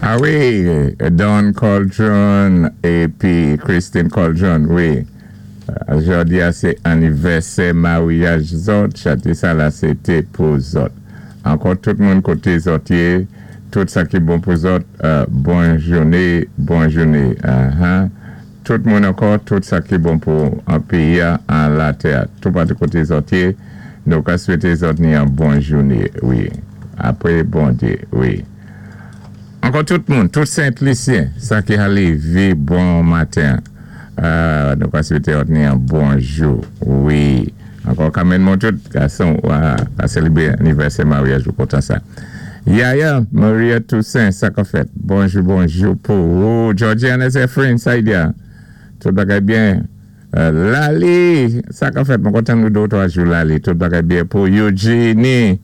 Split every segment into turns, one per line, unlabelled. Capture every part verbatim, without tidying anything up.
A wi, Don Coldron épi Christine Coldron, wi. Jòdi-a sé annivèsè maryaj zòt, chanté sa la sé té pou zòt. Ankò tout moun koté zòt yé, tout sa ki bon pou zòt, euh, bon jouné, bon jouné. Uh-huh. Tout moun ankò, tout sa ki bon pou an péyi an latè. Tout patou koté zòt yé, nou ka swété zòt ni an bon jouné, wi. Apwé Bondyé, wi. Ankò tout moun, tout Sent-Lisyen, sa ki ka lévé bon maten. Euh, nou ka swété zòt ni an bonjou, wi. Ankò kanmenn moun tout gason ka sélébré annivèsè maryaj ou kontan sa. Yaya, Maria Toussaint, sa ka fèt. Bonjou, bonjou pou ou. Georgiana Zephyrin, sa y a. Tout bagay byen. Euh, Lali, sa ka fèt. Mwen kontan nou dé, twa jou Lali. Tout bagay byen pou Eugenie,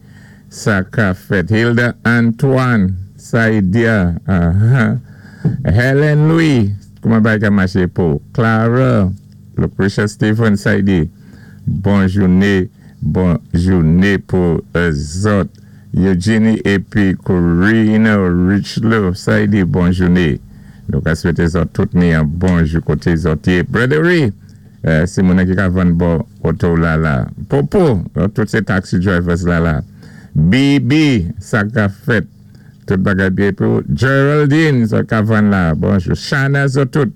sa ka fèt. Hilda Antoine, sa y a. Uh-huh. Helen Louis, kouman bagay ka maché pou Clara, Lucretia Stephen, sa y di. Bon jouné, bon jouné pou zòt. Eugenie épi Corina Richlow, sa y di bon jouné. Nou ka swété zòt tout ni an bonjou koté zòt yé. Brother euh, sé moun ki ka vann bò oto la la. Popo, tout sé taxi drivers la la. B B, sa ka fèt. Tout bagay byen pou Geraldine, sa ka vann la. Bonjou. Shana, zòt tout.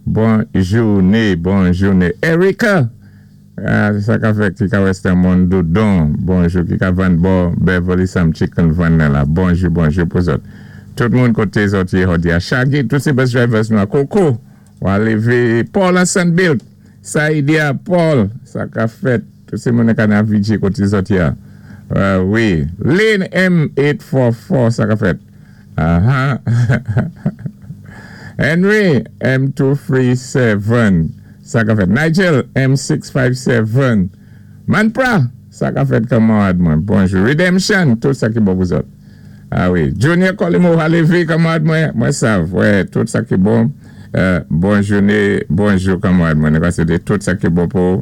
Bon jouné, bon jouné. Erika, euh, sa ka fèt ki ka Western Mondoudon. Bonjou, ki ka vann bò Beverly Sam Chicken vann la. Bonjou, bonjou pou zòt. Tout moun koté zòt yé jòdi a. Shaggy, tout sé bus drivers nou. Coco, ou lévé Paul Hassan Bill. Saïdia Paul, sa ka fèt. Tout sé moun ka nan V J koté zòt yé. Euh, wi. Lynn M eight four four, sa ka fèt. Uh-huh. Henry M two three seven, sa ka fèt. Nigel M six five seven. Manpra, sa ka fèt, kanmarad mwen. Bonjou. Redemption, tout sa ki bon pou zòt. A wi. Junior Colimo Halevi, kanmarad mwen, mwen sav. Wè, tout sa ki bon. Euh, bon jouné, bonjou kanmarad mwen. Nou ka swété tout sa ki bon pou.